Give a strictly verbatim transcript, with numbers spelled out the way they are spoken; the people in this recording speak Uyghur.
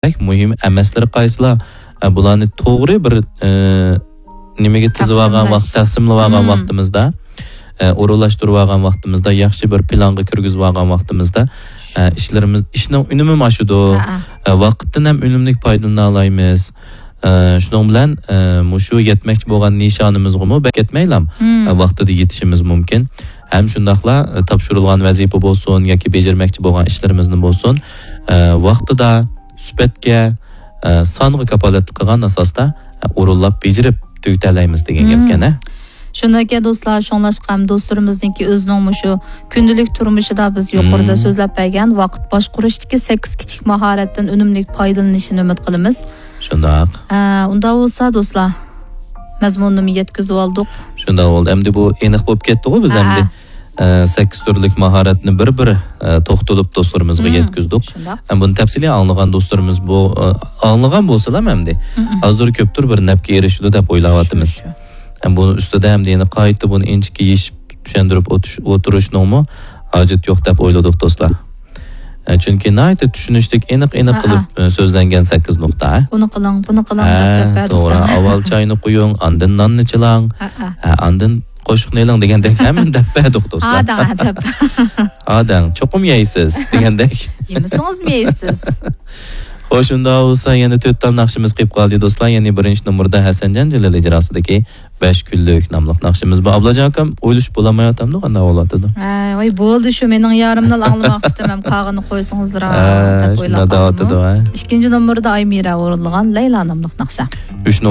مۇھىم ئەمەسلىرى قايسىلار؟ ئە، بۇلارنى توغرا بىر، ئە، نېمىگە تىزىۋالغان ۋاقىت، تەقسىملەش. تەقسىملىۋالغان ۋاقتىمىزدا، ئە، ئورۇنلاشتۇرۇۋالغان ۋاقتىمىزدا، ياخشى بىر پىلانغا كىرگۈزۈۋالغان ۋاقتىمىزدا، ئە، ئىشلىرىمىز، ئىشنىڭ ئۈنۈمىمۇ ئاشىدۇ. ھە، ھە. ئە، ۋاقىتتىن ھەم ئۈنۈملۈك پايدىلىنالايمىز. ئە، شۇنىڭ بىلەن، ئە، مۇشۇ يەتمەكچى بولغان نىشانىمىزغىمۇ بەك كەتمەيلام، ئە، ۋاقتىدا يېتىشىمىز مۇمكىن. ھەم شۇنداقلا، ئە، تاپشۇرۇلغان ۋەزىپە بولسۇن ياكى بېجىرمەكچى بولغان ئىشلىرىمىزنى بولسۇن، ئە، ۋاقتىدا، سۈپەتكە، ئە، سانغا كاپالەتلىك قىلغان ئاساستا، ئە، ئورۇنلاپ بېجىرىپ تۈگىتەلەيمىز دېگەن گەپكەن، ھە؟ شۇنداق ئەكەن دوستلار، شۇڭلاشقا ھەم دوستلىرىمىزنىڭكى ئۆزىنىڭ مۇشۇ كۈندىلىك تۇرمۇشىدا بىز يۇقىرىدا سۆزلەپ بەرگەن ۋاقىت باشقۇرۇشتىكى سەككىز كىچىك ماھارەتتىن ئۈنۈملۈك پايدىلىنىشىنى ئۈمىد قىلىمىز. شۇنداق. ئە، ئۇنداق بولسا دوستلار، مەزمۇننىمۇ يەتكۈزۈۋالدۇق. شۇنداق بولدى. ئەمدى بۇ ئېنىق بولۇپ كەتتىغۇ بىز ئەمدى. ئە، سەككىز تۈرلۈك ماھارەتنى بىر-بىر، ئە، توختىلىپ دوستلىرىمىزغا يەتكۈزدۇق. شۇنداق. ھەم بۇنى تەپسىلىي ئاڭلىغان دوستلىرىمىز بۇ، ئە، ئاڭلىغان بولسىلا ئەمدى ئازدۇر كۆپتۇر بىر نەپكە ئېرىشىدۇ دەپ ئويلاۋاتىمىز. شۇ، شۇ. ھەم بۇنىڭ ئۈستىدە ئەمدى يەنە قايتا بۇنى ئىنچىكە يېشىپ چۈشەندۈرۈپ ئوتۇش-، ئولتۇرۇشنىڭمۇ ھاجىتى يوق دەپ ئويلىدۇق دوستلار. ئە، چۈنكى ناھايىتى چۈشىنىشلىك، ئېنىق-ئېنىق قىلىپ، ئە، سۆزلەنگەن سەككىز نۇقتا. ئۇنى قىلىڭ، بۇنى قىلىڭ دەپ دەپ بەردۇق. توغرا. ئاۋۋال چاينى قۇيۇڭ، ئاندىن ناننى چىلاڭ، ئە، ئاندىن قوشۇقنى ئېلىڭ دېگەندەك ھەممىنى دەپ بەردۇق دوستلار. ھاداڭ، ھە، دەپ. ھاداڭ، چوقۇم يەيسىز دېگەندەك. يېمىسىڭىزمۇ يەيسىز. خوش، شۇنداق بولسا يەنە تۆت تال ناخشىمىز قېلىپ قالدى دوستلار. يەنى بىرىنچى نومۇردا ھەسەنجان جېلىل ئىجراسىدىكى بەش كۈنلۈك ناملىق ناخشىمىز بار. ئابلاجان ئاكام ئويلىشىپ بولالمايۋاتامدۇ، قانداق بولۇۋاتىدۇ؟ ھە، ۋاي، بولدى شۇ، مېنىڭ يارىمنى ئاڭلىماقچىدىم، ھەم قالغىنىنى قويسىڭىزرا دەپ ئويلاپ قالدىمۇ. ئىككىنچى نومۇردا ئايمىرا ئورۇنلىغان لەيلا ناملىق ناخشا. ئۈچ نومۇر